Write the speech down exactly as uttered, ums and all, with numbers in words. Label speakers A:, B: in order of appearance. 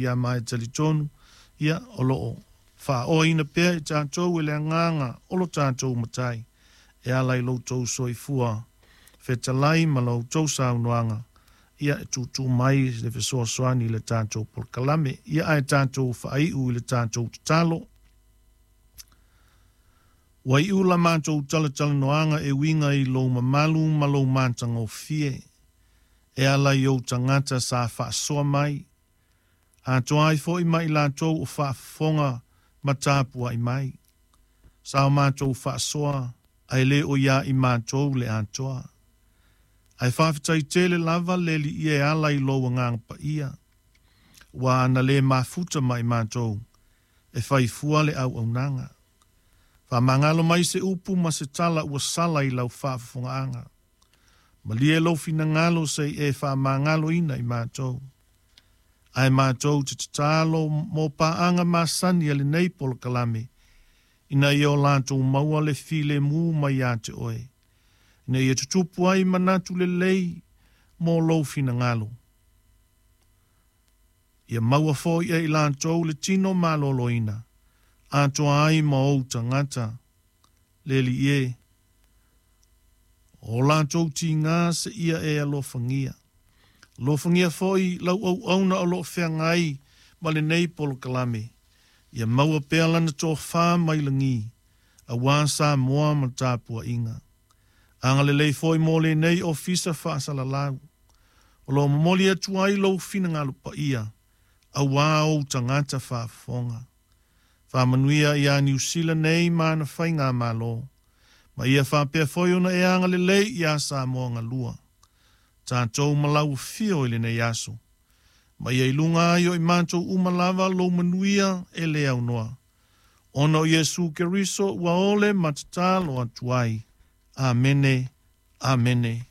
A: Ia ma e talitonu ia o loo faaoaina pea i tatou e le agaga o lo tatou Matai e ala i lo outou soifua fetalai ma lo outou saunoaga ia e tūtū mai le fesoasoani i le tatou polokalame. Ia ae tatou faaiu i le tatou tatalo. Ua iu la matou talatalanoaga e uiga i lou mamalu ma lou matagofie e ala i ou tagata sa faasoa mai, atoa ai foi ma i latou o faafofoga ma tapuai mai. Sa o matou faasoa ae le o ia i matou le atoa. Ae faafetai tele lava le Alii e ala i lou agaga paia. Ua ana le mafuta ma i matou e faifua le auaunaga. Faamagalo mai se upu ma se tala ua sala i lau faafofogaaga. Malie lou finagalo se i e faamagaloina i matou. Ae matou te tatalo mo paaga masani a lenei polokalame, ina ia o latou maua le filemu mai ia te oe, ina ia tutupu ai manatu lelei mo lou finagalo. Ia maua foi e i latou le tino maloloina, atoa ai ma ou tagata, le Alii e, o latou tiga se ia e alofagia. Alofagia foi lau auauna o loo feagai ma lenei polokalame, ia maua pea lana tofa mai lagi, auā Samoa ma tapuaiga. Agalelei foi mo lenei ofisa faasalalau, o loo momoli atu ai lou finagalo paia, auā ou tagata faafofoga. Faamanuia ia Niu Sila nei ma ana faigamalo, ma ia faapea foi ona e agalelei iā Samoa galua. Tatou ma lau afio i lenei aso, ma ia i luga ai o i matou uma lava lou manuia e le aunoa. Ona o Iesu Keriso ua ole ma tatalo atu ai. Amene, amene.